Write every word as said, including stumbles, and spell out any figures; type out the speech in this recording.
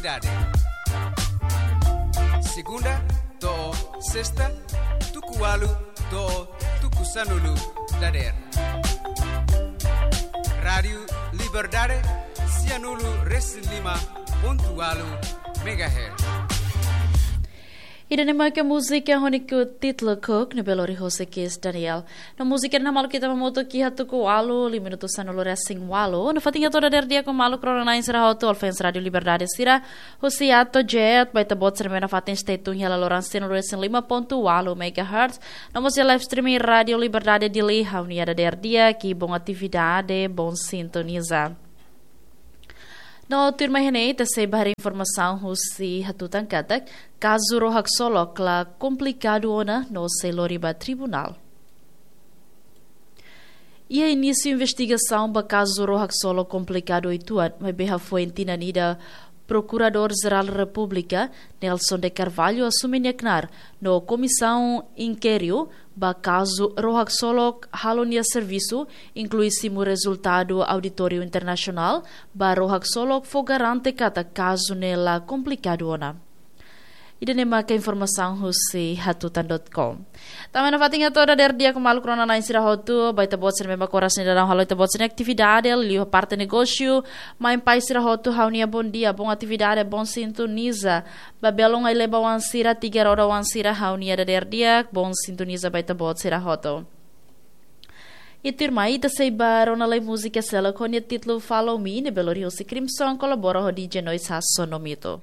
Dade. Segunda to'o sesta, tuku ualu to'o tuku sanulu dadeer. Rádiu Liberdade, sianulu resin lima pontu ualu megahertz. Ida-ne'e maka múzika ho nia títulu Cook, ne'ebé lori hosi Kis Daniel. No múzika ne'e mak ita hamutuk iha tuku ualu, liu minutu sanulu resin ualu. Nafatin atu dadeer di'ak ho maluk rona-na'in sira hotu, ouvinte Rádiu Liberdade sira, husi Atojet, ba ita-boot sira ne'ebé nafatin stay tune iha laloran sianulu resin lima pontu ualu megahertz. No mós iha live streaming Rádiu Liberdade Dili, ha'u-nia dadeer di'ak, i bom atividade, bom sintoniza. No tuirmai iha ne'e, ita sei ba haree informasaun husi hatutan katak, kazu rohak solok la komplikadu ona no sei lori ba tribunál. Iha inísiu investigasaun ba kazu rohak solok komplikadu uitoan, maibé hafoin tinan ida Prokuradór-Jerál Repúblika, Nelson de Carvalho, asume nia knaar, no komisaun inkériu ba kazu rohak solok halo nia servisu, inklui simu rezultadu auditóriu internasionál ba rohak solok fó garante katak kazu ne'e la komplikadu ona. Ida-ne'e maka informasaun husi hatutan dot com. Tanba nafatin atu dadeer di'ak ho maluk rona-na'in sira hotu, ba ita-boot sira ne'ebé mak oras ne'e daudaun halo ita-boot sira-nia atividade, liuliu parte negósiu, mai pai sira hotu ha'u-nia bom dia, bom atividade, bom sintoniza, ba belun ai-leba oan sira, tiga roda oan sira, ha'u-nia dadeer di'ak, bom sintoniza ba ita-boot sira hotu. I tuirmai ita sei ba rona lai múzika seluk ho nia títulu Follow Me, ne'ebé lori hosi Crimson, kolabora ho D J Noise hasoru no mito.